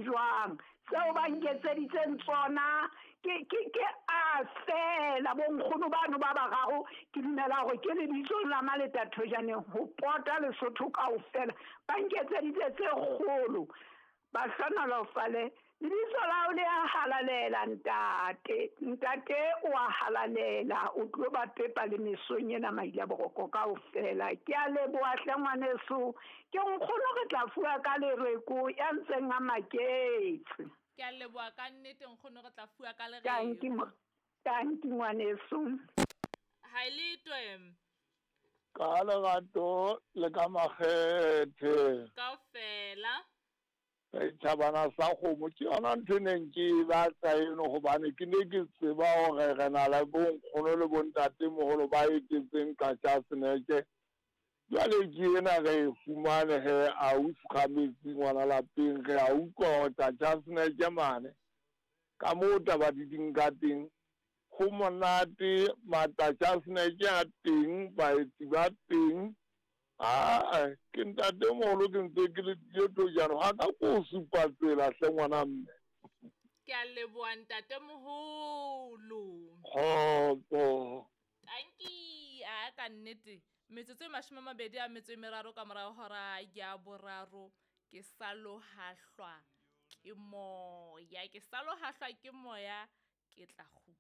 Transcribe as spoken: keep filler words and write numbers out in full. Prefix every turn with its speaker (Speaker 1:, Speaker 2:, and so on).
Speaker 1: jwang. Tseo ba nketseditseng tsona ke ke ke a fela bonkgono bano ba bararo, ke dumela hore ke lebitsong la Maleta Thojaneng ho pota Lesotho kaofela. Ba nketseditse tse kgolo. Ba hlohonolofale. Lebitso la hao le a halalela ntate. Ntate o a halalela, o tlo ba pepa le mesong ena maile a boroko kaofela. Ke a leboha hle ngwaneso. Ke nkgono re tla fuwa ka lereko ya ntseng a maketse.
Speaker 2: Ke a leboha ka nnete nkgono, re tla fuwa ka
Speaker 1: Tanki
Speaker 2: lereko.
Speaker 1: Tanki ngwaneso.
Speaker 2: Ha e le twem.
Speaker 3: Ka lerato le ka makgethe.
Speaker 2: Kaofela.
Speaker 3: Setjhabana sa kgomo ke yona ntho e neng ke e batla eno, hobane ke ne ke tseba hore re na le bonkgono le bontatemoholo ba etetseng Qacha's Nek. Jwale ke ena re e fumane he ausi Kgametsi ngwana lapeng, re a utlwa hore Qacha's Nek mane ka moo taba di ding ka teng ho monate, Maqacha's Nek a teng, baetsi ba teng. Ah, ke ntatemoholo ke ntse ke le Thojane, ha ka ko supa tsela hle ngwana mme.
Speaker 2: Ke a leboha ntatemoholo.
Speaker 3: Kgotso.
Speaker 2: Tanki, a ka nnete. Metsotso e mashome a mabedi a metso e meraro ka morao hora ya boraro, ke sa lohahlwa ke moya, ke sa lohahlwa ke moya, ke tla kgutla.